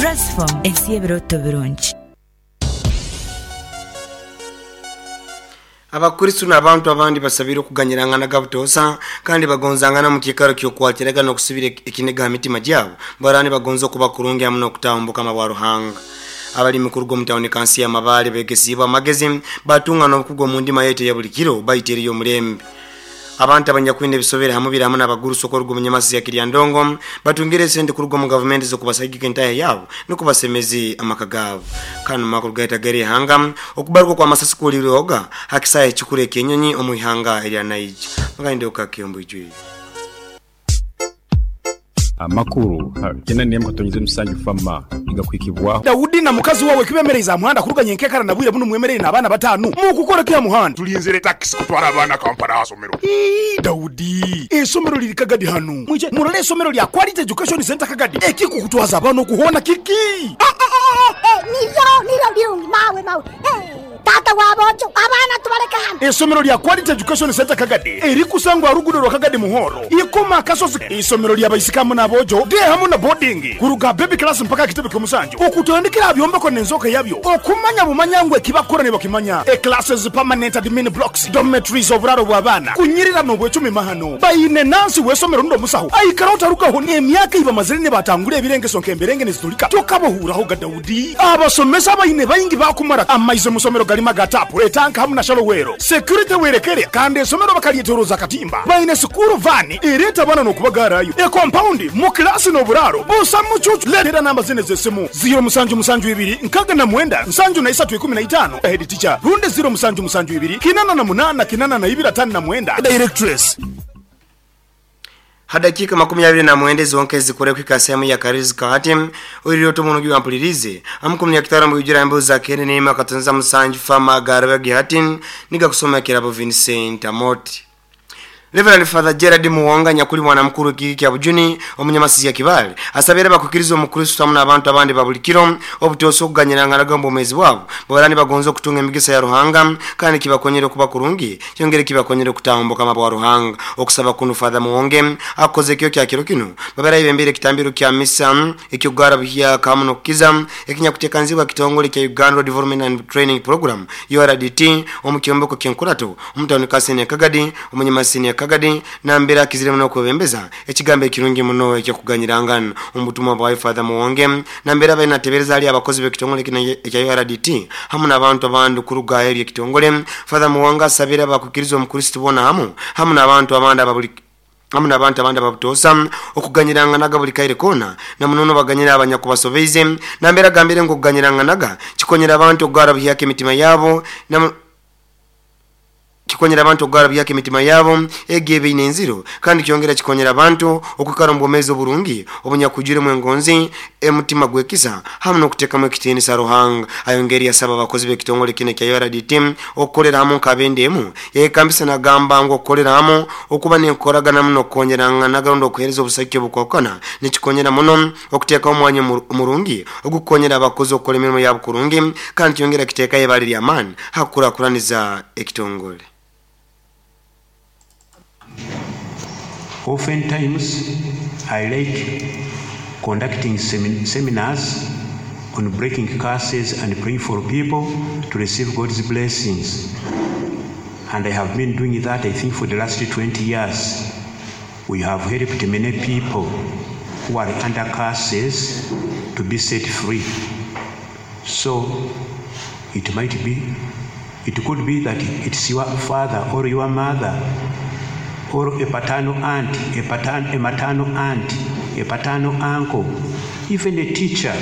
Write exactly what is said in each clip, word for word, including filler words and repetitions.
Transform ensi y'ebiroto birungi. Abakristo n'abantu abandi basabire okuganyirangana gabutosa kandi bagonzangana mu kikaro ky'okwakiraga n'okusibira ekiniga mitima gyabo barani bagonza okuba kurungi hamwe n'okutambuka mabwa Ruhanga. Abalimi kuruga mu tawuni kansi ya Mabale begesibwa amagezi batunga n'okugwa mu ndima yetu ya buli kiro bayiteriyo omulembe. Abantu abanyakwine bisobera hamwe biramu n'abaguruso korugo munyamasi ya Kiryandongo batungire sente kurugo mu government zo kubasagika entaya yabo nukubasemezi amaka gabo. Kanu makuru gaita gari hanga okubaruko kwa masasi kuliroga hakisaya ekikure kenyonyi omuihanga erya Naija. Magende okakiyombo ijwi. Amakuru kena niye mkatonyize musanju fama igakwikibwa Daudi na mukazi wawe kibemereza muhanda kuruga nyenkekara na bwire buno mwemerere na abana batanu mukukora kya muhanda tulinzire taxi kutwara abana Kampala asomero. Ii Daudi esomero liri Kagadi hanu mwije murole esomero lya Quality Education Center Kagadi ekikukutwaza abana okuhona kiki nivyo nivyo birungi mawe mawe tata wabojo abana tubareka hano. Esomero lya Quality Education Center Kagadi erikusangwa rugudo rwa Kagadi Muhoro ikoma kasozi. Isomero lya baisikamu nabojo de hamu na boarding kuruga baby class mpaka kitebe kyomusanju okutandikira byombeko nenzoka yabyo okumanya bumanyangwe kibakora ne bakimanya e classes permanent admin blocks dormitories oburaro bw'abana kunyirira no bwecumi mahano bayine nansi wesomero ndo musaho aikara utarukaho ne emyaka iba mazire ne batangure ebirenge sonke emberenge nezitulika tokabohuraho ga Daudi abasomesa bayine bayingi bakumara amaize musomero galima gatapu etanka hamu na shalowero security werekere kandi esomero bakalietoroza katimba bayine sukuru vani ireta bana no kubagarayo e compound mu klasi no buraro busa mucucu letera namba zine zesimu zero musanju musanju ibiri nkaga na mwenda nsanju na isatu ikumi na itano head teacher runde zero musanju musanju ibiri kinana na munana kinana na ibira tano na mwenda directress. Hadakika makumi abiri na mwende zonke zikore kwika sehemu ya Karizi Kahati ulioto munugi wampulirize amukumni ya kitarambu ujira mbu za kene neema katunza musanju fama garwe gihatin niga kusoma kirabo Vincent Amoti. Reverend Father Gerard Muwonga nyakuli mwana mkuru kiki kya Bujuni omunyamasi ya Kibale asabira bakukirizwa omukristo hamwe n'abantu abandi babulikiro obutoso okuganyirangana gombo omwezi bwabo barani bagonza okutunga emigisa ya Ruhanga kandi kibakonyera okuba kurungi kyongere kibakonyera okutambuka mabwa Ruhanga. Okusaba kuno Father Muwonge akoze kyo kya kiro kino babara ibembere kitambiro kya misa ekyogara buhya kamuno kukiza ekinyakutekanzibwa kitongole kya Uganda Development and Training Program U R D T omukyombeko kyenkurato omutawuni kasene Kagadi omunyamasi ya Kagadi nambera kizire muno kubembeza ekigambo ekirungi muno ekyokuganyirangana omutumwa bwa Father Muwonge nambera bayina tebereza ali abakozi bekitongole kino ekya U R D T hamu n'abantu abandi kuruga eri ekitongole. Father Muwonge asabira abakukirizwa omukristo bona hamu hamu n'abantu abandi ababuli hamu n'abantu abandi ababutosa okuganyiranganaga buli kaire kona na munono baganyira abanyakubasobeize nambera gambire ngo kuganyiranganaga kikonyera abantu okugara buhyaka emitima yabo na kikonyera abantu okugara byake mitima yabo egebe inenziro kandi kyongera kikonyera abantu okukara mbomezi oburungi obunyakujire mwengonzi emutima gwekisa hamwe nokuteka mu ekitiinisa Ruhanga. Ayongeri yasaba abakozi bekitongole kine kya U R D T okukolera hamwe nkabendemu yekambisa nagamba ngo okukolera hamwe okuba nenkoragana muno konyeranga nagarundo okuhereza obusake obukwakana nikikonyera muno okuteka omwanya murungi ogukonyera abakozi okukola emirimo yabo kurungi kandi kyongera kiteka ebali lya amani hakurakuraniza ekitongole. Oftentimes, I like conducting semin- seminars on breaking curses and praying for people to receive God's blessings. And I have been doing that, I think, for the last twenty years. We have helped many people who are under curses to be set free. So, it might be, it could be that it's your father or your mother or a paternal aunt, a, patern, a maternal aunt, a paternal uncle, even a teacher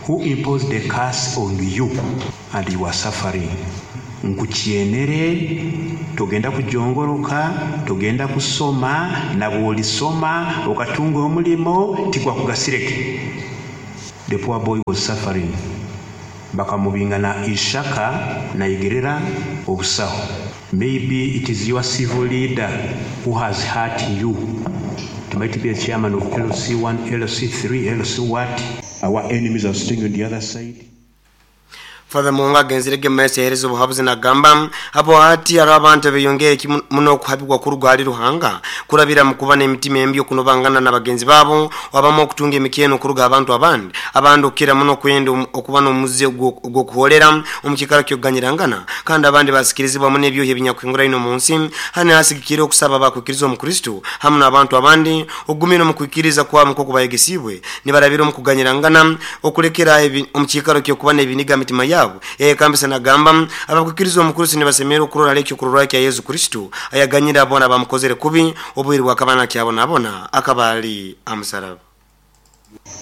who imposed the curse on you and you are suffering. Nkuchienere, togenda kujongoroka, togenda kusoma, na bw'olisoma, okatunga omulimo, tigwakugasireke. The poor boy was suffering. Bakamubinga na ishaka na igerera obusaho. Maybe it is your civil leader who has hurt you. It might be a chairman of L C one, L C three, L C what. Our enemies are sitting on the other side. Father Muhonge agenzerege mumaiso yahereza obuhabuzi nagamba abo hati hariho abantu abeyongere muno okuhabibwa kuruga hali Ruhanga kurabira mu kuba n'emitima embi okunobangana na bagenzi babo wabamu okutunga emikyeno kuruga abantu abandi abandi okukira muno kwenda okuba n'omuze ogw'okuholera omu kiikaro ky'okuganyirangana kandi abandi basikirizibwamu n'ebyohi ebinyakuhingura ino mu nsi hanu hasigikire okusaba abakwikiriza omu Kristo hamu n'abantu abandi okugumira omu kwikiriza kwabo nk'oku bayegesibwe nibarabira omu kuganyirangana okulekera omu kiikaro ky'okuba n'ebiniga mitima yabo. Ekambisa nagamba abakwikiriza omu Kristo nibasemera okurora ekyo kurora kya Yesu Kristo ayaganyira abona bamukozere kubi obwiri bwakabana kyabonabona akaba ali amusaraba.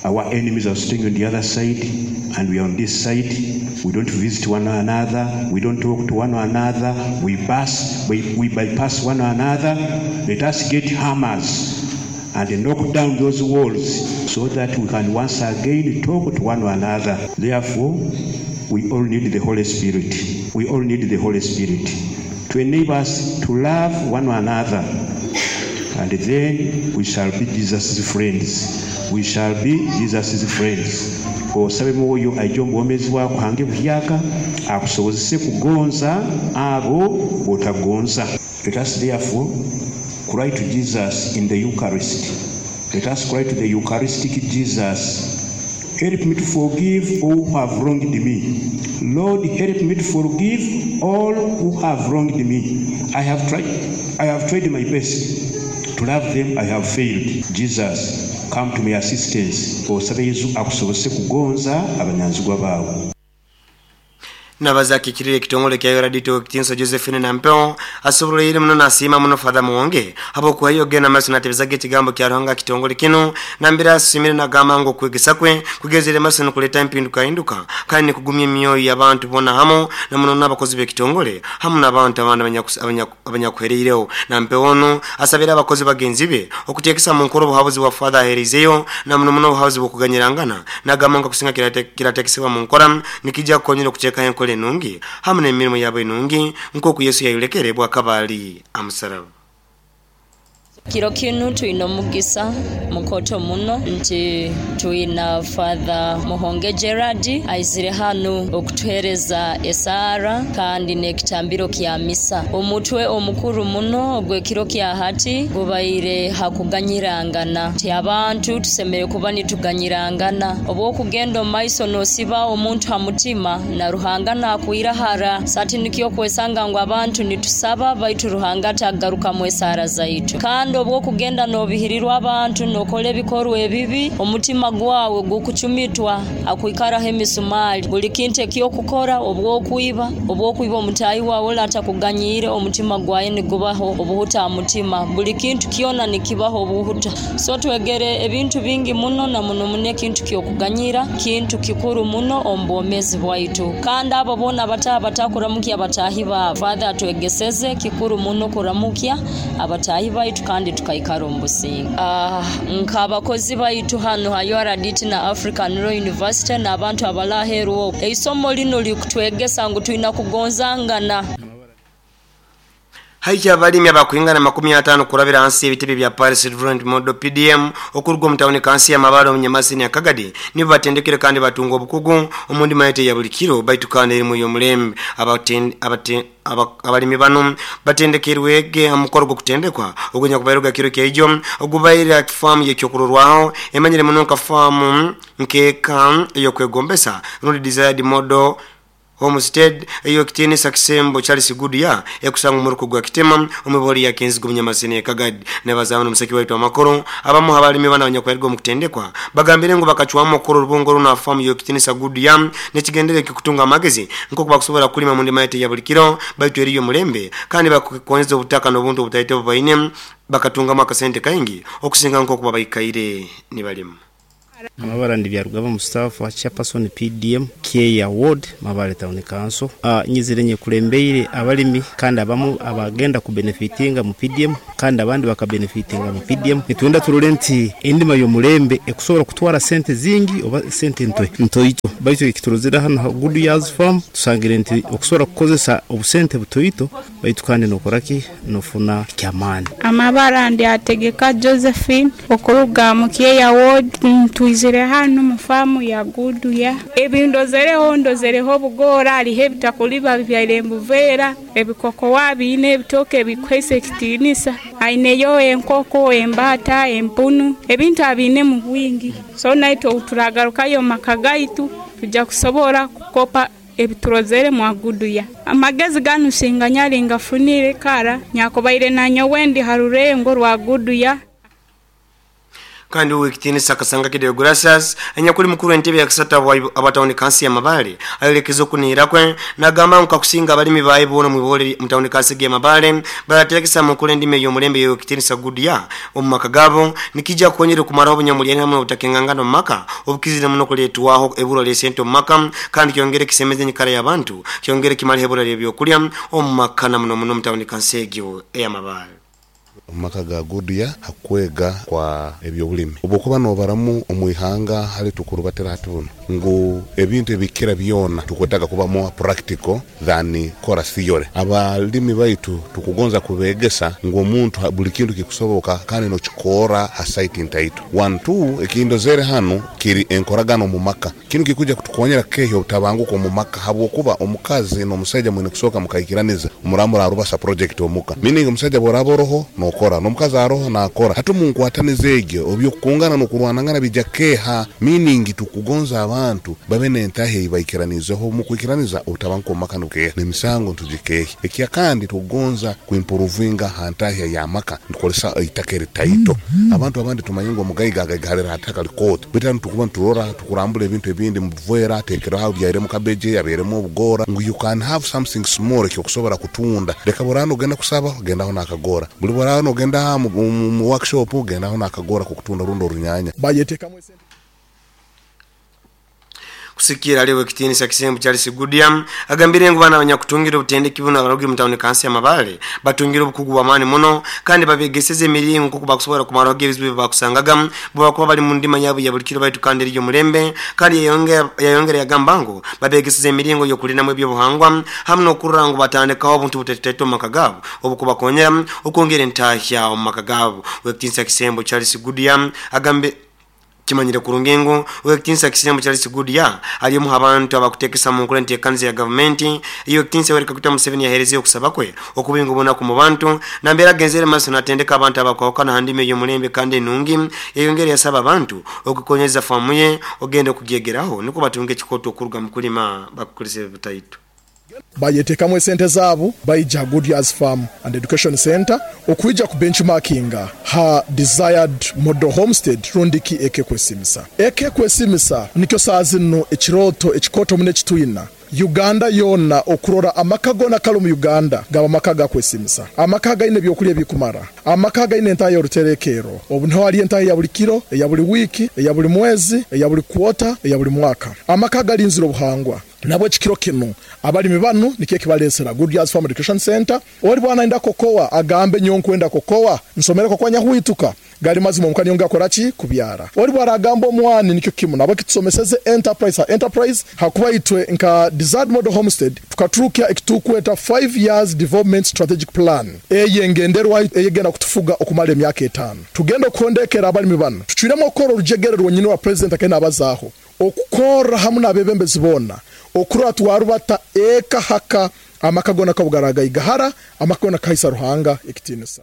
Our enemies are sitting on the other side and we are on this side. We don't visit one another, we don't talk to one another, we pass, we, we bypass one another. Let us get hammers and knock down those walls so that we can once again talk to one another. Therefore, we all need the Holy Spirit. We all need the Holy Spirit to enable us to love one another. And then we shall be Jesus' friends. We shall be Jesus' friends. Osabe mwoyo aije omu bwomeezi bwako hange buhyaka akusobozese kugonza abo botagonza. Let us therefore cry to Jesus in the Eucharist. Let us cry to the Eucharistic Jesus. Help me to forgive all who have wronged me. Lord, help me to forgive all who have wronged me. I have tried, I have tried my best to love them. I have failed. Jesus, come to my assistance. Osabe Yesu akusobose kugonza abanyanzigwa bawe. Nabazakikirire ekitongole kya Yoradito Kitinso Josephine Nampeo asoboleire muno nasiima muno Father Muhonge abo kuhayo gena maso natebezaga ekigambo kya Ruhanga kitongole kino nambira asimire nagamba ngo kwegesa kwe kugezere maso nokuleta empinduka hinduka kandi nikugumya emyoyo y'abantu bona hamo na muno n'abakozi b'ekitongole hamu n'abantu abandi abanyakuhereireho. Nampeo ono asabira abakozi bagenzi be okuteekesa mu nkoro obuhabuzi bwa Father aherizeyo na muno muno obuhabuzi bw'okuganyirangana nagamba ngo kusinga kiratekesebwa mu nkora nikijja kukonyera okuteekayo enkola enungi hamu n'emirimu yabo enungi nk'oku Yesu yayolekere bwakabali amusaraba. Kiro kinu twina omugisa mukoto muno nti twina Father Muhonge Gerard aizire hanu okutuhereza esaara kandi n'ekitambiro kya misa. Omutwe omukuru muno ogw'ekiro kya hati gubaire hakuganyirangana nti abantu tusemere kuba nituganyirangana obw'okugenda omu maiso n'osiba omuntu ha mutima na Ruhanga nakwirahara sati nikyo kwesanga ngu abantu nitusaba baitu Ruhanga tagarukamu esaara zaitu. Kandi obwokugenda nobihirirwa abantu nokola ebikorwa ebibi omutima gwawe gukuchumitwa akwikaraho emisumali buli kintu ekyokukora obwokwiba obwokwiba omutayi wawe atakuganyire omutima gwawe nigubaho obuhuta mutima buli kintu kyona nikibaho obuhuta. So twegere ebintu bingi muno na muno muno ekintu kyokuganyira kintu kikuru muno omu bwomezi bwaitu. Kandi abo bona abataha batakuramukya abatahi babo Father atwegeseze kikuru muno kuramukya abatahi baitu kandi tukaikara omu businge. Uh, nk'abakozi baitu hano ha U R D T na African Law University n'abantu abalaheruo eisomo lino likutwegesa ngu twina kugonzangana. Haija abalimi abakuingana makumi atano kurabira hansi ebitebe bya Paris Development Model P D M okuruga omu tawuni kansi ya Mabale omu Nyamasini ya Kagadi nibo batendekere kandi batunga obukugu omu ndima yete ya buli kiro baitu kandi erimu y'omulembe. Abalimi bano batendekerwege ha mukoro gw'okutendekwa ogwenya kubayiruga kiro kyaijo ogubaire famu y'ekyokurorwaho emanyire muno nka famu nkeeka ey'okwegombesa rundi desired model homestead eyo kitiinisa kisembo Charles Goodyear ekusanga omuruko gwa Kitema omuboli ya Kenzigo Munyamasini ya Kagadi. Nebazamu n'omuseki waitu amakoro abamu abalimi bana abanyakweriga omu kutendekwa bagambire ngu bakacwamu okukora orubungo runo famu yo kitiinisa Goodyear n'ekigendere ky'okutunga amagezi nk'oku bakusobola kulima mu ndima yete ya buli kiro baitu eriyo mulembe kandi bakukoneza obutaka n'obuntu obutaite obubaine bakatungamu akasente kaingi okusinga nk'oku babaikaire nibalima. Amabara ndi Byarugaba Mustafa, chairperson P D M K Award Mabale Town Council. Uh, nyizire nye kulembeire abalimi kandi abamu abagenda ku benefitinga mu P D M kandi abandi bakabenefitinga mu P D M. Nitwenda turole nti endima y'omulembe ekusobola kutwara sente zingi oba sente nto ntoito, baitu ekiturozera hano Good Years Farm tusangire nti okusobola kukozesa obusente butoito baitu kandi nokoraki nofuna kyamani. Amabara ndi ategeka Josephine okuruga mu Kyeya Ward. Ntwizire hano mu famu ya Good Year, ebindozereho ndozereho bugora alihe bitakuliba byaire mbuvera ebikokowa biine ebitoke bikwese ekitinisa aineyo enkoko embata empunu ebintu abine mu bwingi. So naito uturagarukayo makagaitu tujja kusobora kukopa ebiturozere mwa Good Year. Amagezi ganu singanyali ngafunire kara nyakobaire nanyo wendi harurengo rwa Good Year. Kandi uwekitinisa Kasanga Kideo Gracias anyakuli mukuru entebe ya kisata abatawuni kansi ya Mabale ayolekeza okunihira kwe nagamba nkakusinga abalimi bae bona mwibole mutawuni kansi ya Mabale baraterekesa mukuru endime y'omulembe y'okitinisa Good Year omu maka gabo nikija kukonyera okumaraho obunyamulya hamwe obutakengangana omu maka obukizire muno kuleetwaho ebura ly'esente omu maka kandi kyongere kisemeze enyikara y'abantu kyongere kimaleho ebura ly'ebyokulya omu maka na muno muno mutawuni kansi egyo eya Mabale. Omumaka ga Good Year hakwega kwa ebyobulimi obukuba nobaramu omwihanga hali tukurubatira hati buno ngu ebintu ebikira byona tukwetaga kuba more practical than kora theory. Abalimi baitu tukugonza kubegesa ngu omuntu buli kintu kikusoboka kandi nokikora ha site ntaito. One two ekindozere hano kiri enkoragano mu maka kinu kikuja kutukonyera keho obutabanguko mu maka habwokuba omukazi n'omusajja mwine kusoka mukaikiraniza umuramura arubasa project omuka meaning omusajja boraboroho nokora n'omukazi aroho nakora hatu munkwataniza egyo obyokukungana n'okurwanangana bijja keha meaning tukugonza abantu babe n'entahe ibaikiranizeho mu kwikiraniza obutabanguko mu maka nukeha n'emisango ntugikehe. Ekya kandi tukugonza kuimprovinga hantahe ya maka ntukolesa itaka eritaito. Abantu abandi tumanye ngo omugayiga agaigarira hataka likoto bitanu tukuba nturora tukurambula ebintu ebindi muvera atekeraho byairemu kabeje yaberemu obugora ngu you can have something small ekyokusobora kutunda leka borano ogenda kusaba ogendaho nakagora buli borano ogenda mu, mu workshop ogendaho nakagora kukutunda rundo orunyanya bayetekamu esente. Kusikira aliwe kitinisa Kisembu Charles Goodyear agambire ngu bana abanyakutungira obutendeki buno abarugi mu tawuni kansi ya Mabale batungira obukugu bw'amaani muno kandi babegeseze emiringo nkuko bakusobola kumaraho ebizibu bye bakusangaga bwakuba bali mu ndima yabo ya buli kiro baitu kandi eriyo mulembe kandi yayongera yayongera yagamba ngu babegeseze emiringo y'okulinamu ebyobuhangwa hamwe n'okurora ngu batandikaho obuntu butetete omu maka gaabo obukubakonyera okwongera entahya omu maka gaabo. Wekitinisa Kisembu Charles Goodyear agambe kimanyire kurungengo wekitinisa Kisembu Charles Goodyear ali mu abantu abakutekesa mu nkola enteekaniza ya gavumenti iyo kitinisa Yoweri Kaguta Museveni yaherezeye okusaba kwe okubinga obunaku mu bantu nambera agenzere maaso natendeka abantu abakwawukana ha ndimi ey'omulembe kandi enungi yayongera yasaba abantu okukonyeza faamu ye ogenda okugyegeraho niko batunge ekikoto okuruga mu kulima bakukolesa ebitaito. Bayetekamu esente zaabo baija Good Years Farm and Education Center okuija ku benchmarkinga ha desired model homestead rundiki ekekwesimisa ekekwesimisa nikyo saazi nno ekiroto ekikoto mune kitwina Uganda yona okurora amaka gona kali mu Uganda gaba amaka gakwesimisa amaka gaine ebyokulya ebikumara amaka gaine entayo oruterekero obu hali entayo ya buli kiro eya buli wiki eya buli mwezi eya buli kwota eya buli mwaka amaka galinzira obuhangwa nabwo ekikiro kino abalimi banu nikyo kibalesera Good Years Farm Education Center. Oli bwana enda kokoa agambe nyonkwenda kokoa nsomere kokoa nyahuituka gali mazima omukani yonga koraki kubyara. Oli bwana agamba omwani nikyo kimu nabo kitusomeseze enterprise enterprise hakuba itwe nka desired model homestead tukaturukia ekitukweta five years development strategic plan eyengenderwa eyegenda kutufuga okumala emyaka etano tugenda okondekera abalimi banu tucwiremo okora orujegere rwonyini wa president akena abazaho okukora hamwe n'abebembezi bona okurora twarubata eka haka amakagona kabugaraga igahara amakagona kaisa Ruhanga ekitinisa.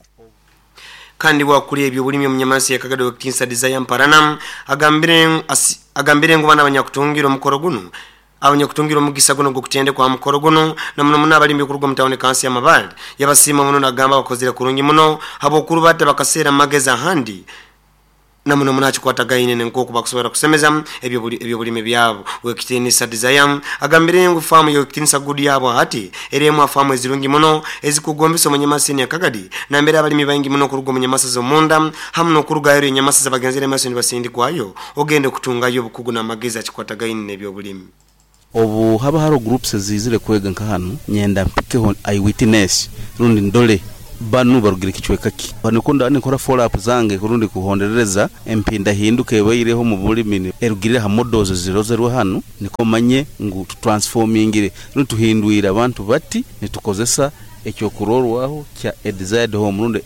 Kandi wakuri ebyo bulimi omunyamasi yakagado kitinisa Desire Mparana agambire agambire ngu bana abanyakutungira omukoro guno abanyakutungira omugisa guno gukutende kwa mukoro guno na muno muno abalimi okuruga mu tawuni kansi ya Mabale yabasiima muno nagamba bakozire kurungi muno habwokurubata bakaseera mageza ahandi na muno muno akikwatagaine nk'oku bakusobola kusemeza ebyo ebyobulimi byabo. Wekitinisa Desire agambire ngu faamu y'ekitinisa Good yabo hati erimu faamu ezirungi muno ezikugombesa omunyamasi ya Kagadi nambere abalimi baingi muno okuruga omunyamasi z'omunda hamwe n'okurugayo enyamasi zabagenzere maaso nibasindikwayo ogende okutungayo obukugu n'amagezi akikwatagaine n'ebyobulimi. Obu haba haro groups zizire kwega nka hanu nyenda mpikeho eyewitness rundi ndole Banu barugire kicweka ki banikunda nikora follow up zange kurundi kuhonderereza empinda hinduka ebaireho mu bulimi erugirire ha models zirozerwe hano, niko manye ngu transformingire rutuhindwira abantu bati nitukozesa ekyokurorwaho kya a desired home rundi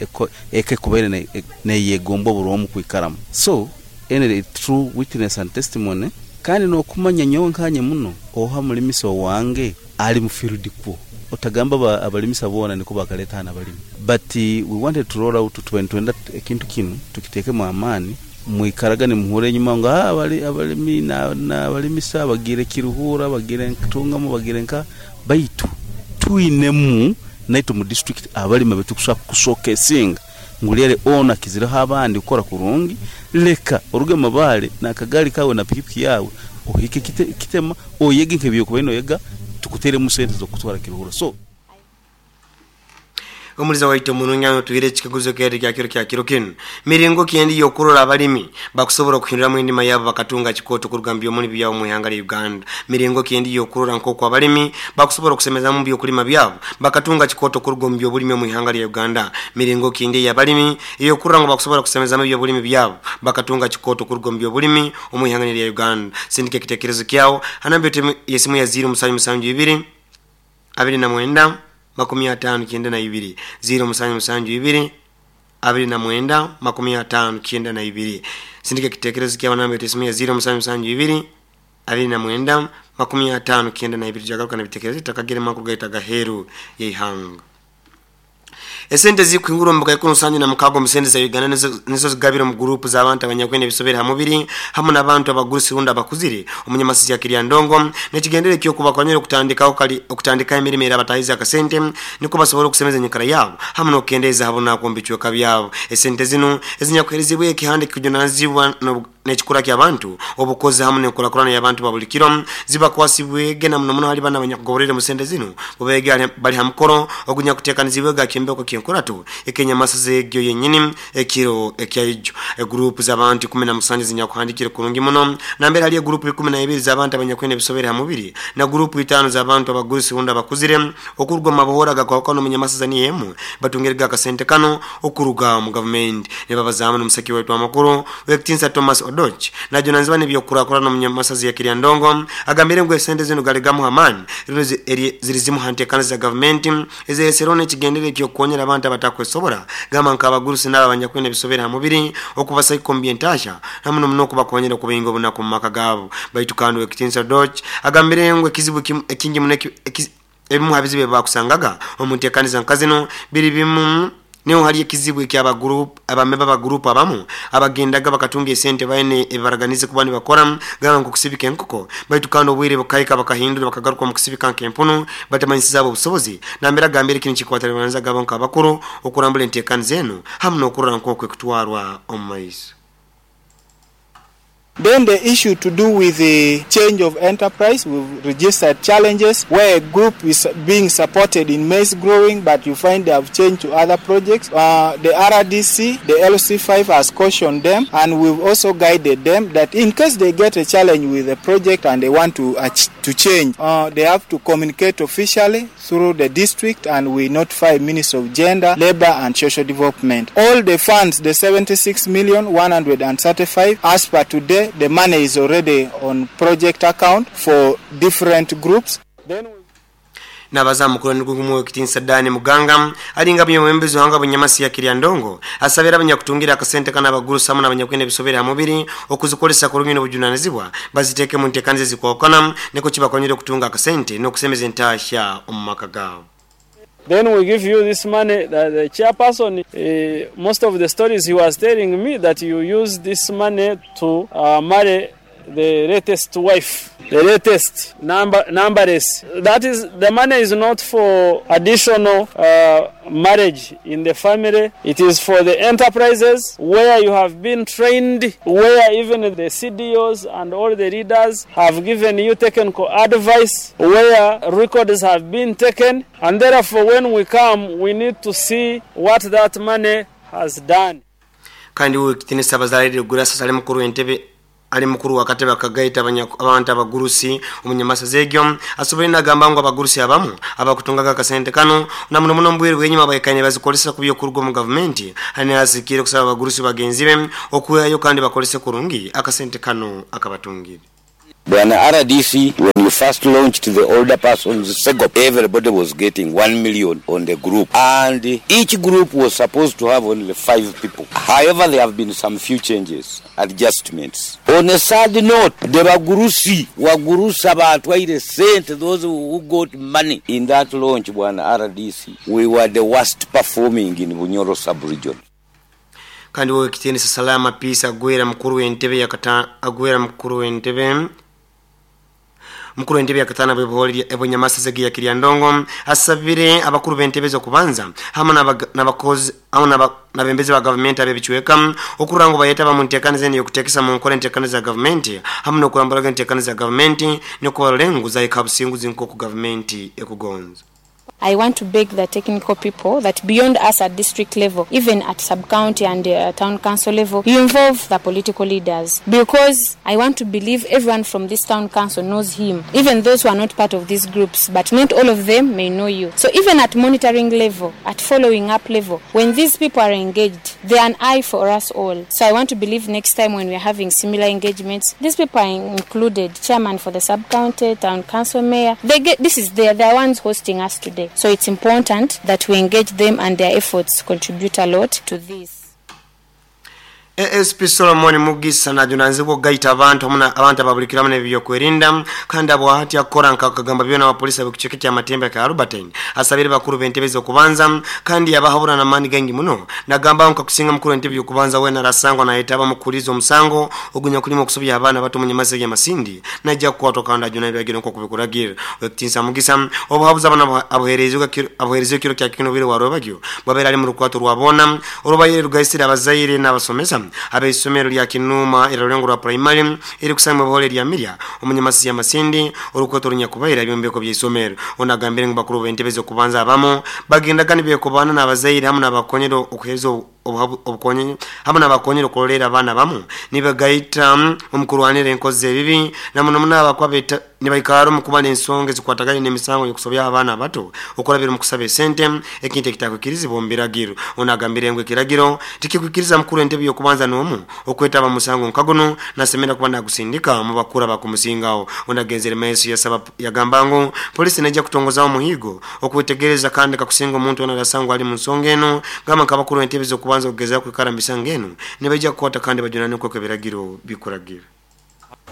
eke kubaire neyegomba buromu kwikaramu. So ene true witness and testimony kandi nokumanya nyowe nkanye muno oha mulimiso wange ali mu field kwo otagamba abalimisa bona niko bakaleta hana balimi, but uh, we wanted to roll out twenda ekintu kinu tukitekemu amani mwikaraga ni muhure enyuma ngo abali abalimi na abalimisa bagire Kiruhura, bagire Ntungamo, bagire nka baitu tuinemu naitu mu district abalima betukusha kushokesinga ngulere ona kiziraho abandi ukora kurungi. Leka oruge mabale na kagali kawe na pikipiki yawe ohike kite, kitema oyege nkebyo kubeno yega tukutere mu sente zo kutwara Kiruhura. So omuliza waito mununyano tuire chikaguzo keri kya kiro kya kiro kinu miringo kiendi yokurora abalimi bakusobola okuhinduramu endima yabo bakatunga chikoto kurugambyo omuli byabo mu ihanga lya Uganda. Miringo kiendi yokurora nkoko abalimi bakusobola okusemeza mu byokulima byabo bakatunga chikoto kurugombyo obulimi mu ihanga lya Uganda. Miringo kiendi y'abalimi yokurora ngo bakusobola okusemeza mu byobulimi byabo bakatunga chikoto kurugombyo obulimi mu ihanga lya Uganda. Sindike kitekerezo kyao hanambyo yesimu ya zero musanju musanju ibiri abiri na mwenda makumi atano kienda na ibiri zero musanju musanju ibiri abiri na mwenda makumi atano kienda na ibiri. Sindike kitekerezo kya namba yetu ya zero musanju musanju ibiri abiri na mwenda makumi atano kienda na ibiri. Jagaruka na bitekerezo takagere makuru gaita gaheru yeihanga. Esente zikuingura mbuga ikuno sanyu na mukago musende za Uganda nizo zigabira mu group z'abantu abanyakwene bisobera hamubiri hamwe n'abantu abagurusi runda abakuzire omunyamasisi ya Kiryandongo nekigendere kyo kubakonyera okutandika okali okutandika emirimo era batahiza akasente niko basobora okusemeza enyikara yabo hamwe n'okendeza habo nakombichweka byabo. Esente zino ezinyakuherezibwe ekihande kujunanizibwa n'ekikura ky'abantu obukozi hamwe n'enkurakurana y'abantu babulikiro zibakwasibwege na muno muno hali bana abanyakugoborere musente zino bobege bali hamukoro ogunyakutekanizibwe gakimbeko kyenkuratu ekenyamasize egyo yenyini ekiro ekyaijo. E group z'abantu kumi na musanju zinyakuhandikire kurungi muno nambere hali group ikumi na ibiri z'abantu abanyakwene bisobere hamubiri na group itano z'abantu abagurusi runda bakuzire okurugwa mabohora gakwakano munyamasiza ni emu batungerega akasente kano okuruga mu government ne babazamu n'omusaki wetu amakuru Wekitinsa Thomas Odoch na jonanziwa n'ebyokurakurana munyamasazi ya Kiryandongo agambire ngo esente zino galigamu hamani zirizimu hantekana za government ezeserone kigendere kyokonyera abantu abatakwesobora gamba nkabagurusi n'abanyakwene bisobera hamubiri okubasa ikombye entasha namuno muno kubakonyera kubinga obunaku mu maka gabo. Baitu kandi Wekitinsa Odoch agambire ngo ekizibu ekingi muneki ebimu habizibe bakusangaga omuntekaniza nkazino biri bimu niho hali ekizibu ekyaba group abameba ba group abamu abagendaga bakatunga esente baine ebaraganize kuba nibakora gamba nko kusibika enkoko baitu kandi obwire bukaika bakahindura bakagaruka mu kusibika nk'empunu batamanyisiza abo obusobozi nambera gambire kino kikwatalibanza gabo nk'abakuru okurambula enteekaniza zenu hamwe n'okurora nk'okwe kutwarwa omu maiso. Then the issue to do with the change of enterprise, we've registered challenges where a group is being supported in maize growing, but you find they have changed to other projects. Uh, the R D C, the L C five has cautioned them, and we've also guided them that in case they get a challenge with the project and they want to, uh, to change, uh, they have to communicate officially through the district, and we notify Minister of Gender, Labor and Social Development. All the funds, the seventy-six million one hundred thirty-five, as per today, the money is already on project account for different groups. Then nabaza mukuru nigumu Kitinsa Dani Muganga alinga byomwembezi hanga bunyamasi ya Kiryandongo asabira abanyakutungira akasente kana abagurusi hamwe n'abanyakwene bisobera hamubiri okuzikolesa kurungi n'obujunanizibwa baziteke mu nteekaniza zikwakana niko kibakonyera okutunga akasente n'okusemeza entasha omu maka gaabo. Then we give you this money. The, the chairperson, uh, most of the stories he was telling me that you use this money to uh, marry the latest wife, the latest number, numberless. That is, the money is not for additional uh, marriage in the family. It is for the enterprises where you have been trained, where even the C D Os and all the leaders have given you technical advice, where records have been taken, and therefore when we come, we need to see what that money has done. Kandi uwe kitinisa bazalire gurasa sale mukuru entebe Ali mukuru wa katebe akagaita abantu abagurusi omunyamasa zegyo asobole nagamba ngo abagurusi abamu abakutungaga akasente kano na muno muno mbwire bwenyuma bayikanye bazikolesa kubyo kurugo mu government hani asikire kusaba abagurusi bagenzi be okuyayo kandi bakolese kurungi akasente kano akabatungire. Bwana R D C, when you first launched the older persons SEGOP, everybody was getting one million on the group. And each group was supposed to have only five people. However, there have been some few changes, adjustments. On a sad note, the Bagurusi, Wagurusa Batwaire sent those who got money in that launch, Bwana R D C, we were the worst performing in Bunyoro sub-region. Kandi wewe kiteni salama peace agwera mukuru w'entebe yakata agwera mukuru w'entebe mukuru w'entebe yakatana bwebholi ebonyamasa zegi ya Kiryandongo asabire abakuru b'entebe zo kubanza hamwe n'abakozi hamwe n'abembezi ba government abebichweka okurango bayeta bamuntekanize zeni yokutekesa mu nkora entekaniza za government hamwe n'okurambura entekaniza za government n'okubalengu za ikabusingu zinko ku government ekugonza. I want to beg the technical people that beyond us at district level, even at sub-county and uh, town council level, you involve the political leaders. Because I want to believe everyone from this town council knows him, even those who are not part of these groups, but not all of them may know you. So even at monitoring level, at following up level, when these people are engaged, they are an eye for us all. So I want to believe next time when we are having similar engagements, these people are included, chairman for the sub-county, town council, mayor. They get, this is they are the ones hosting us today. So it's important that we engage them and their efforts contribute a lot to this. A S P Solomon Mugisa na junanzibwa gaita abantu hamuna abantu ababulikira mune byokwerinda kandi abo hati akora nkakagamba byona abapolisi abikucheke kya matembe ka Albertine asabire bakuru bentebe zo kubanza kandi abahabura na mani gangi muno nagamba nkakusinga mukuru entebe yo kubanza wena rasangwa na etaba mukulizo omusango ogunya kulimo kusobya abana bato munyamase ya Masindi najja kukwatwa kandi ajuna byagiro nko kubikuragira wekitinsa Mugisa obuhabuza abana abuherezwa abuherezwa kiro kya kino bire warobagyo babera ari mu rukwato rwabona urubayire rugaisira abazaire n'abasomesa abeisomero lya Kinuma eralengo rwa primary iri kusanga buhole lya Mirya omunyamasi ya Masindi urukoto runyakubaira byombeko by'isomero onagambire ngo bakuru bentebe kubanza abamo bagenda kandi bekobana n'abazaire hamwe n'abakonyero okuhezo obukonye hamwe n'abakonyero kolera abana bamu nibagaita omukurwanira enkoze ebibi namuno munaba kwabeta nibaikaro mukubana ensonge zikwataganye n'emisango yokusobya abana bato okulabira mu kusaba esente ekintu ekitakwikiriza bombiragiro onagambire ngo ekiragiro tikikwikiriza mukuru entebe yokubanza n'omu okwetaba musango nkagono nasemera kuba nagusindika mu bakura bakumusingawo onagenzere meso yasaba yagamba ngo polisi nejja kutongoza omuhigo okwetegereza kandi kakusinga omuntu onarasangwa ali mu nsonga eno gamba nkabakuru entebe zokubanza okugeza kwekarambisa ngeno nibajja kukwata kandi bajunane kweko ebiragiro bikuragira.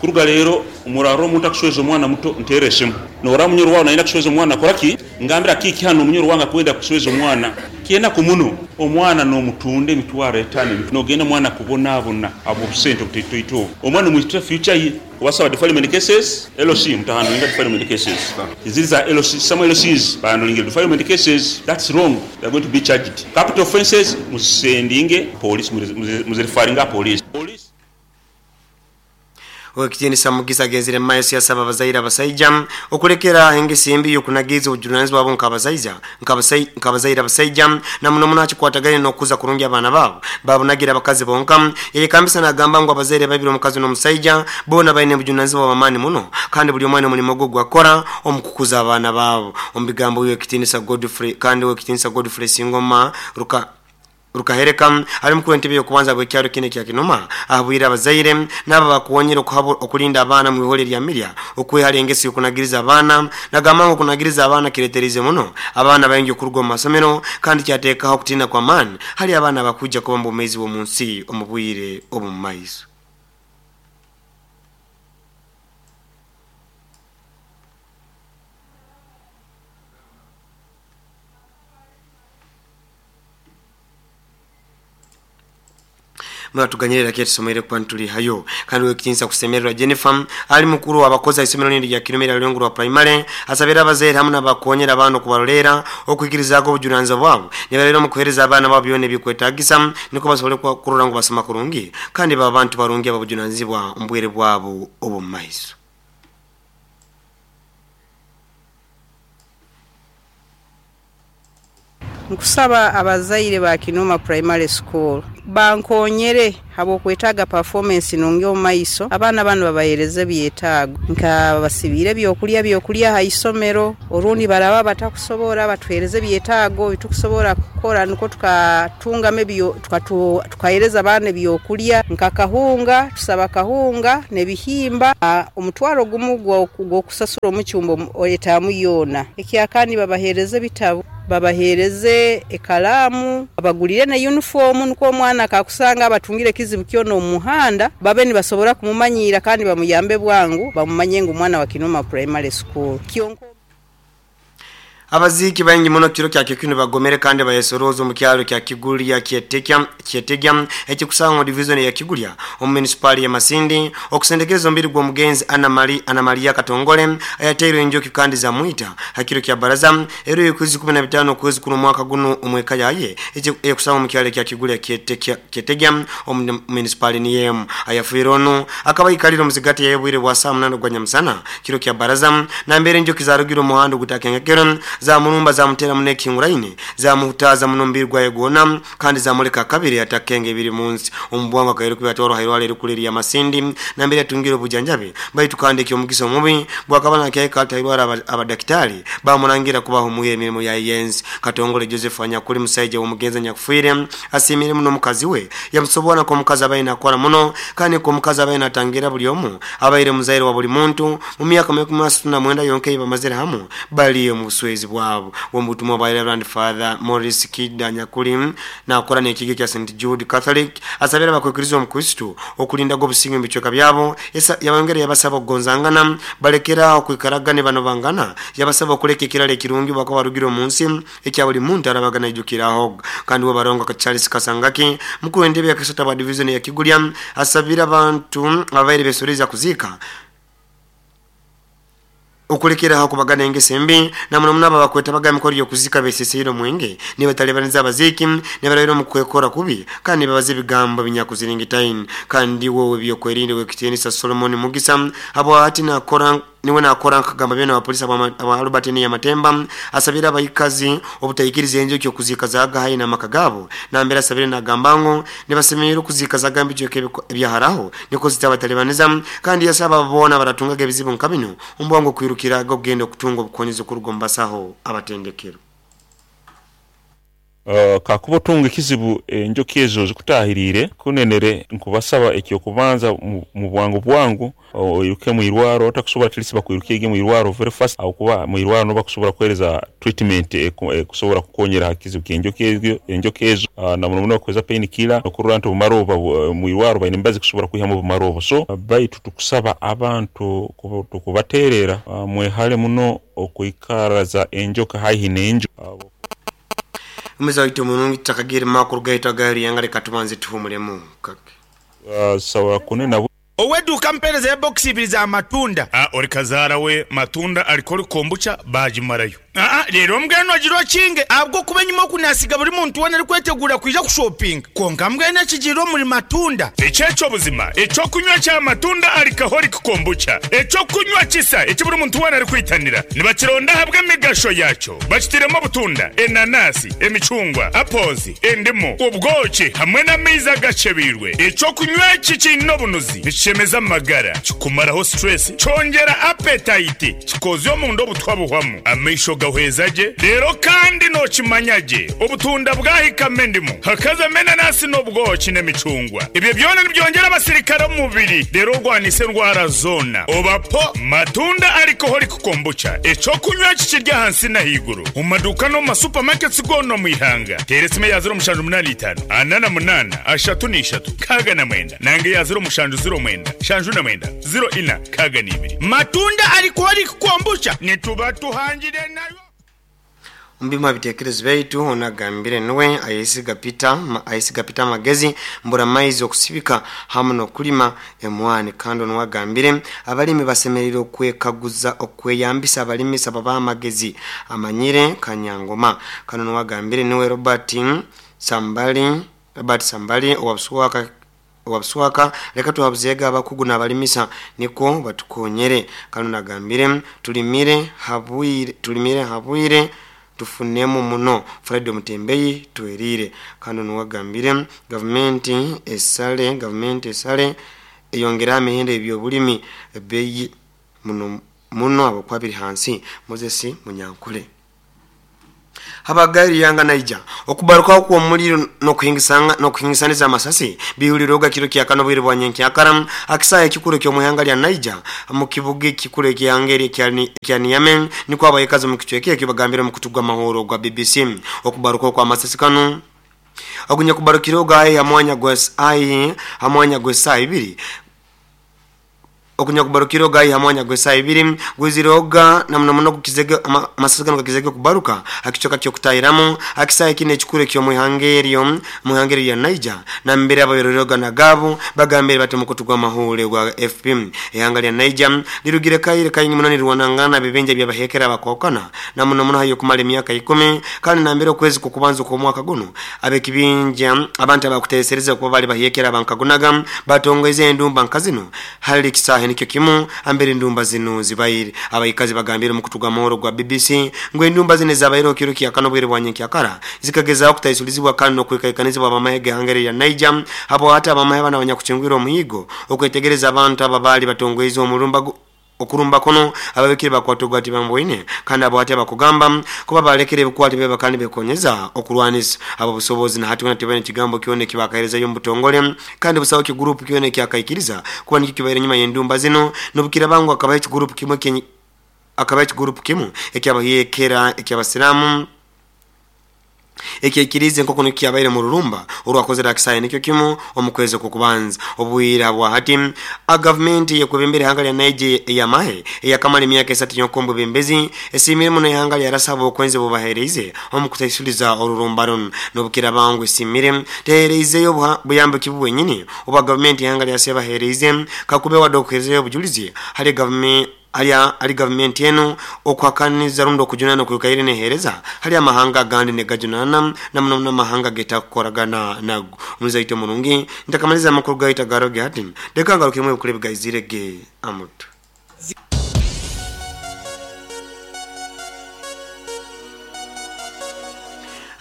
Kuruga rero umuraro omuntu akushweza omwana muto ntereshemu nora munyoro wawe naina kushweza omwana koraki ngambira kiki hano omunyoro wanga kwenda kushweza omwana kiena kumuno omwana no mutunde emitwaro etano nogenda omwana kubonabona abo sente obutitoito omwana omwitira future ye wasaba defilement cases L C mutahandlinga defilement cases ziriza L C some L Cs bahandlinga defilement cases, that's wrong, they are going to be charged capital offenses musendinge police muzirefaringa police police. Wekitini Samugisa genzire maesi yasaba abazaire abasaija okulekera engesimbi yokunagiza obujunanizibwa bwabo nk'abazaija nk'abazaire abasaija na muno muno akikwataganye n'okuza kurungi abaana baabo babunagira abakazi bonka yeyekambisa n'agamba ngu abazaire babiri omukazi n'omusaija boona baine obujunanizibwa bw'amaani muno kandi buli omwana omulimo gwe gwakora omu kukuza abaana baabo. Omu bigambo Wekitinisa Godfrey kandi Wekitinisa Godfrey Singoma ruka rukahereka ali mukuru entebe yokubanza bwekyalo kine kya Kinuma ahabwira abazaire naba bakuwonyera okulinda abaana mu bihole lya Mirya okwehali engesi yokunagiriza abaana nagamba ngo kunagiriza abaana kireterize muno abaana bayingi okuruga mu masomero kandi kyateekaho okutina kwa maani hali abaana bakujja kuba mbomezi bw'omu nsi omu bwire obu mu maiso. Mratuganyirira kye tusomere kwa ntuli hayo kandi wekitinsa kusemererwa Jennifer ali mukuru abakoza isomero nindi ya Kilomera Lwengo rwa primary asabira abazaire hamwe n'abakonyera abantu kubarolera okwikirizaako obujunanizibwa bwabo nibarero mu kuhereza abaana babo byone bikwetagisa niko basobole kurora ngo basoma kurungi kandi baba abantu barungi ababujunanizibwa ombwere bwabo obu maiso. Nkusaba abazaire ba Kinuma Primary School Bankonyere habwokwetaaga performance nungi omu maiso, abaana banu babahereze ebyetaago nka basibiire ebyokulya byokulya ha isomero, orundi baraba batakusobora batuhereze ebyetaago bitukusobora kukora nukwo tukatungamu ebyo tukatu tukahereza abaana ebyokulya nka kahunga, tusaba kahunga n'ebihimba omutwaro gumu gw'okusasura omucumbo etaamu yoona. Ekyakandi babahereze ebitabu, babahereze ekalamu, babagulire na uniform nukwo omwana akakusanga abatungire ekizibu kyona omu muhanda babe nibasobora kumumanyira kandi bamuyambe bwangu bamumanye ngu omwana wa Kinuma Primary School. Kyonko Abaziki baingi muno kiro kya kikuni bagomere kandi bayesorozo mu kyalo kya Kigulya Kyetekya Kyetegya ekikusangwa division ya Kigulya omu municipal ya Masindi okusendekeza mbiri gwa mugenzi Anna Maria Anna Maria Katongole ayateirwe enjoki kandi za mwita hakiro kya baraza ero yokwezi kumi na bitano kwezi kuno mwaka guno omweka yaye ekusangwa mu kyalo kya Kigulya Kyetekya Kyetegya omu municipal ni yem ayafirono akabayikaliro muzigati yebwire bwa saa munana gwa nyamusana kiro kya baraza na mbere enjoki zarugiro muhando gutakengekero za murumba za mutera muneki nguraine za muhutaza munombirwa yegona kandi za muleka kabiri atakenge biri munsi ombwanga kairo kubatoro hairwale rukuliri ya Masindi na mbere atungiro bujanjabe baitu kandi kyo mugiso mubi bwakabana kya kalta irwara abadaktari bamurangira kubaho muye emirimo ya yenzi. Katongole Joseph Anyakuri musaije omugenza nyakufuire asimire muno mukazi we yamusobona ko mukazi abaina akora muno kandi ko mukazi abaina atangira buli omu abaire muzaire wa buli muntu mu myaka makumi asatu na mwenda yonke bamazire hamu bali mu buswezi bwabo. Wombutumwa bwa Reverend Father Maurice Kida Nyakuri na akora n'ekige kya Saint Jude Catholic asabira abakwekirizo mu Kristo okulinda go businge mu byabo yabongere yabasaba okugonzangana balekera okwikaragane bano bangana yabasaba okuleka ekirala ekirungi bako barugiro munsi ekya buli muntu arabagana ijukiraho. Kandi bo barongo ka Charles Kasangaki mukuru w'entebe ya Kisota ba division ya Kigulya asabira abantu abaire besoreza kuzika okulekera hakubagana engese mbi na muno munaba bakweta baga mikoro yokuzika besesero mwenge ni batalebaniza abaziki ne barabira mu kwekora kubi kandi babaze bigambo binyakuziringitaini. Kandi wowe byokwerinde wekitenisa Solomon Mugisa abo ati nakora niwe nakora nkagamba byona abapolisi aba Albert ni Matemba asabira abayikazi obutayikiriza enjo kyo kuzika zaga hayi na makagabo na mbere asabire nagambango nibasemerera kuzika zaga mbyo ebyaharaho niko zitabatalebaniza kandi yasaba babona baratungaga ebizibu nkabino umbwango kwirukira gogenda okutunga obukonyezo kurugombasaho abatendekero. Uh, kakuba otunga ekizibu enjoki ezo zikutahirire kunenere nkubasaba ekyo kubanza mu bwangu bwangu oiruke mu irwaro otakusobola tilisi bakwiruke ege mu irwaro very fast aho kuba mu irwaro no bakusobola kuhereza treatment ekusobola kukonyera hakizibu kenjoki ezo enjoki ezo uh, na muno muno kweza pain killer okurura nti bumaroba mu irwaro bayine mbazi kusobola kwihamu bumaroba so uh, baitu tukusaba abantu tukubaterera uh, mwehale muno okuikaraza enjoka haihi n'enjo uh, Umeza wito munungi takagiri makuru gaita gari yangare katumanze tuhumulemu kake. Uh, sawa kunena Oweduka mpereza ya box ibiri za matunda. Ah, ori kazara we matunda alikori kombucha bajimarayo. Ah, rero mbweno agiro kinge abwo kuba nyuma kunasiga buri muntu wena ari kwetegura kwija kushopping. Konka mbwene kigiro muri matunda. Echecho buzima, echo kunywa cha matunda alcoholic kombucha. Echo kunywa kisa eki buri muntu wena ari kwitanira. Nibakironda habwe migasho yacho. Bakitiremo butunda, enanasi, emicungwa, apples, endimu, ubwoki hamwe n'amaizi agacebirwe. Echo kunywa iki kino bunuzi. Nichemeza magara, kikumaraho stress, cyongera appetite, kikozyo mu ndo butwabuhwamu. Amaisho gahwezaje rero kandi no kimanyaje obutunda bwahikame ndimu hakaza menanasi n'ubwoki n'emicungwa ibyo byona nibyongera abasirikare mu mubiri rero rwanise ndwara zona obapo matunda alcoholic kombucha eco kunywa kikirya hansi na higuru mu maduka no mu supermarkets gono mu ihanga teresime ya zero mushanju munani itanu anana munana ashatu n'ishatu kaga na mwenda nange ya zero mushanju zero mwenda shanju na mwenda zero ina kaga n'ibiri matunda alcoholic kombucha nituba tuhangire nayo. Mbima bitekerezo baitu onagambire nuwe ayisiga Peter ma, ayisiga Peter Magezi mbura maizi okusibika hamu nokulima emwani kando nwagambire abalimi basemerera okwekaguza okweyambisa abalimi sababa amagezi amanyire kanyangoma kando nwagambire nuwe Robert Sambali Robert Sambali owabsuwaka wabswaka leka tuhabuzega abakugu n'abalimisa niko batukonyere kano nagambire tulimire habwire tulimire habwire Tufunemu muno Fred Mutembeyi twerire kano nuwagambire gavumenti esale gavumenti esale eyongera amehendo ebyobulimi ebbeeyi muno muno abakwabiri hansi Moses Munyankule. Habagari yanga naija okubaruka kwa omuliro nokuhingisanga nokuhingisaniza amasasi bihuliroga kiro kya kano bwire bwa nyenkyakara akisaya ekikuru kyo muhanga lya Naija mu kibuga ekikuru ekyangeri kya Niamey niko abayekazi mu kichweke ekibagambira mu kutugwa mahoro gwa B B C okubaruka kwa amasasi kano agunya kubarukiroga ayi amwanya gwa ayi amwanya gwa saa ibiri okunya kubarukiro gai hamwanya gwesa ibiri gwiziroga namna muno kukizege amasasi kano kizege kubaruka akichoka kyo kutairamu akisaya kine chikure kyo muhangerio muhangeri ya Niger na mbere abayororoga na gabo bagambere batemukutugwa mahule gwa F P ehanga lya Niger lirugire kaire kayingi munani rwanangana bibenja byabahekera bakokana na muno muno hayo kumala emyaka ikumi kandi na mbere okwezi kukubanza kwa mwaka guno abekibinja abantu abakutesereza kuba bali bahekera bankagunaga batongeze endumba nkazino hali kisahe nikyo kimu ambere ndumba zino zibaire abayikazi bagambira mu kutuga mahoro gwa B B C ngo endumba zine zabaire kiro kya kano bwire bwanye kyakara zikageza kutayisulizibwa kandi no kwikaikanizibwa abamahege hangere ya Niger hapo hata abamahe bana abanyakuchingwira omuhigo okwetegereza abantu ababali batongweza omulumba okurumba kono ababekire bakwatogwa ati bamboine kandi abo ati abakugamba kuba balekere bikwati beba kandi bekonyeza okurwanisa abo busobozi na hati tebane kigambo kione kibakahereza yo mbutongole kandi busawo ki group kione kyakaikiriza kuba nikyo kibaire nyuma yendumba zino nobukira bangu akabaye group kimwe kenyi akabaye group kimu ekyabahekera ekyabasilamu ekikirize nkoko nikiyabaire mu rurumba urwakozera akisaye nikyo kimu omukwezi kukubanza obwira bwa hati a government yekwebembere hanga lya Niger eyamahe eyakamala emyaka esatu yokombo bembezi esimire muno ihanga lya rasabo okwenze bubahereze omukutaisuliza orurumba runo nobukira bangu esimire tehereizeyo buyambo kibu wenyini oba government ihanga lya sebahereze kakube wadokezeyo bujulizi hali government Alia ali government yenu okwakaniza rundo kujunana kukaire nehereza hali amahanga gandi negajunana na muno mahanga geta kukoragana nago muzaito murungi ntakamaliza amakuru gaita garoge hati deka ngarukimwe ukule bigayizirege amutu.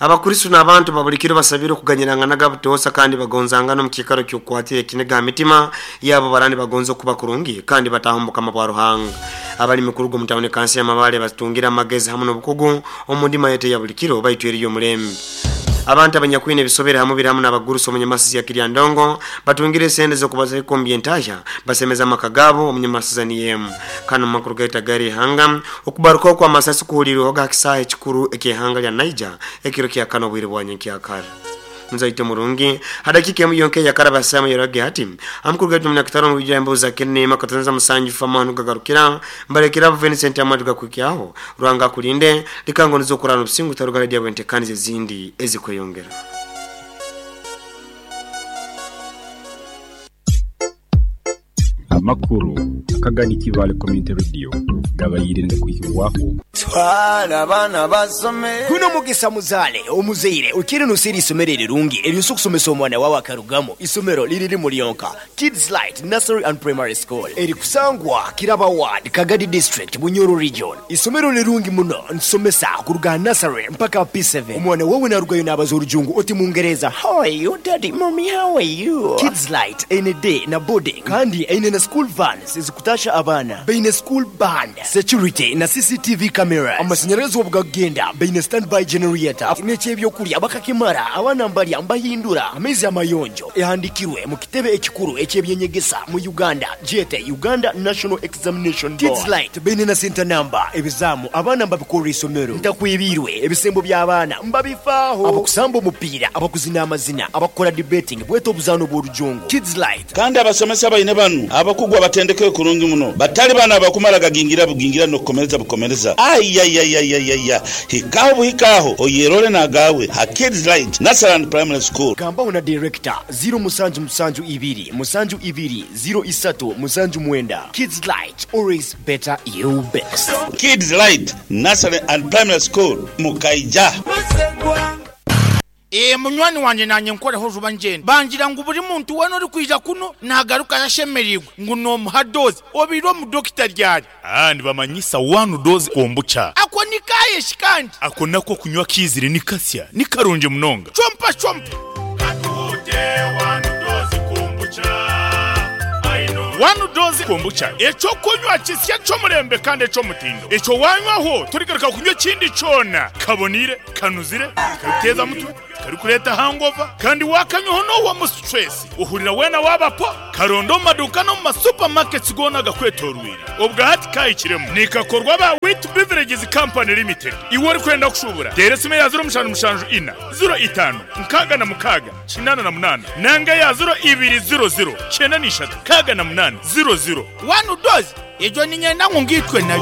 Abakristo n'abantu babulikiro basabira okuganyirangana gabutosa kandi bagonzangana mu kikaro ky'okwatira ekinega mitima yabo barani bagonzo kuba kurungi kandi batahomboka mabwa Ruhanga. Abali mikurugo mutawune kansi ya mabale batungira amagezi hamwe n'obukugu omundima yete ya bulikiro bayitweriyo omulembe. Abantu abanyakwine bisobera hamwe biramu n'abaguruso omunyamasizi ya Kiryandongo batungire sente zo kubaza ikombi entasha basemeza amakagabo omunyamasizi niyemu kano makuru gaita gari hanga okubaruka kwa masasi kuhulirwa ga kisahe kikuru ekihanga lya Niger ekiro kya kano bwire bwanye kyakara nzaite murungi hadakika emu yonke yakaraba samu yarage hati amukuru gaitu munakitaro mu bijambo za kene makatanza musanju famanu gagarukira mbarekera Vincent Amadu gakukyaho Rwanga kulinde likango nizokurana obusingu tarugara dia bwente kandi zindi ezikweyongera. Amakuru akagani Kivale Community Radio gabayire ndakwikiwaho twala abana basome kuno mugisa muzale omuzeire ukiri nusiri isomero rirungi eryo kusomesa omwana wawe akarugamo isomero liriri mulionka Kids Light Nursery and Primary School eri kusangwa Kiraba Ward Kagadi District Bunyoro Region. Isomero lirungi muno nsomesa kuruga nursery mpaka P seven. Omwana wawe narugayo nabaza orujungu oti mungereza how are you daddy mommy how are you. Kids Light any day na boarding kandi eine na school vans ezikutasha abana beine school band security na C C T V cameras amashanyarazi obugagenda beine standby generator n'ekyebyokulya bakakimara abana mbalya mbahindura amezi amayonjo ehandikirwe mu kitebe ekikuru ekyebyenyegesa mu Uganda jete Uganda National Examination Board. Kids Light beine na center number ebizamu abana mbabikora isomero ntakwibirwe ebisembo by'abaana mbabifaaho abakusamba omupiira abakuzina amazina abakora debating bweto obuzano bw'orujungu Kids Light kandi abasomesa baine banu abakugwa batendeke kurungi muno batali bana abakumara gagingira bugingira no kukomereza bukomereza ayayayayaya hikaho buhikaho oyerole nagawe ha Kids Light Nursery and Primary School. Gamba una director zero musanju musanju ibiri musanju ibiri zero isatu musanju mwenda. Kids Light always better you best. Kids Light Nursery and Primary School Mukaija. E munywani wanje nanye nkoreho juba njenda bangira ngo buri muntu wano uri kwija kuno nagaruka yashemerirwe ngo no muhadoze obiro mu doctor ryari ah ndibamanyisa one dose kombucha ako nikaye. Kayeshi kandi Ako nako kunywa kizire ni kasya ni karungi munonga. Chompa chompa. One doze kombucha ekyo kunywa kisya ky'omulembe kandi eky'omutindo. Ekyo wanywaho turigaruka kunywa ekindi kyona. Kabonire, kanuzire, karikuteeza mutwe, karikureeta hangover, kandi wakanywaho n'owa mu stress. Uhurira wena wabapo, karondo mu maduka no mu masupermarkets gona gakwetorwire. Obwa hati kahikiremu. Nikakorwa ba Wheat Beverages Company Limited. Iwe ori kwenda kushubura. Tera esimu ya zero mushanju mushanju ina, zero itano, nkaga na mukaga, kinana na munana. Nanga ya zero ibiri zero zero, kyenda n'ishatu, kaga na munana, zero zero. One doze ejo ninyenda ngu ngitwe nayo.